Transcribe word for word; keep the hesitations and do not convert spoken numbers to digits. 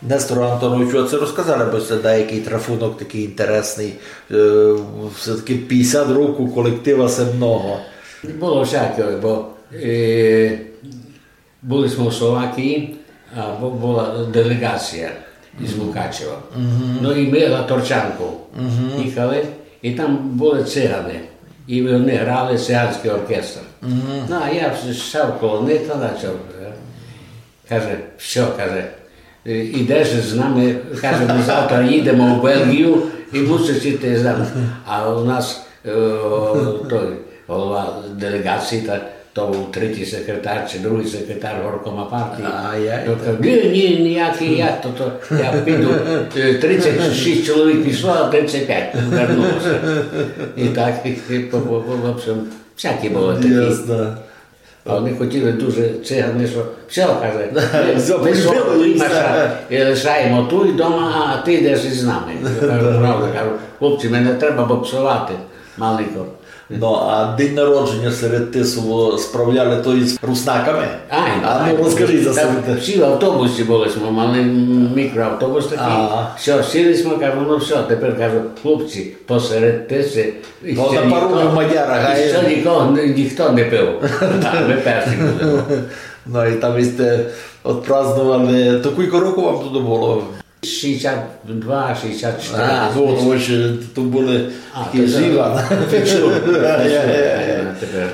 Несторе Антоновичу, а ци розказали бы сьте даякый трафунок такый інтересный? Е, всьо-таки пятдесят років колектива се много. Было всяке, бо, е, были сьме у Словакії, а бу-, была делеґація из Мукачева. Но і мы на Торчанку їхали, і там были циганы. І они грали, циганьскый оркестр. Но, а я с-, сяв коло них та начав, е, Каже: «Всьо, каже, е, ідеш з нами, каже, мы завтра їдеме у Бельґію і мусиш іти з нами». А у нас, е, той голова делеґації, та то быв третій секретар ци другый секретар горкома партії. Ай-яй. Він каже: «Ні, ні, ніякый я, то, то я піду, е, тридцять шість чоловік пішло, а тридцять пять вернулося». І так, і, і по, по, по, в общем, всякі были такі. Ясно. А они хотіли дуже циганы, што всьо, каже, мы, всьо, мы свого полюбили, Клімаша, е, лишаєме туй дома, а ты ідеш из нами. Я кажу: «Правда», кажу, «хлопці, мене треба боксовати маленько». Но, а день народженя серед Тису справляли то из руснаками? Ай, ну, розкажи за себе. Всі в автобусі были, сьме мали мікроавтобус такый. Ага. Всьо, сіли сьме, кажу: «Ну всьо, тепер», кажу, «хлопці, посеред Тиси». І на паромі в Мадярах, а іщи нікого, ні-, ніхто не пив. Так, мы перші будеме. Но і там сьте отпраздновали. То кілько років вам туды было? Шістдесят два, шістдесят чотири. А, ну, то были такі живі. А, то, то, то, то, то, то, тепер.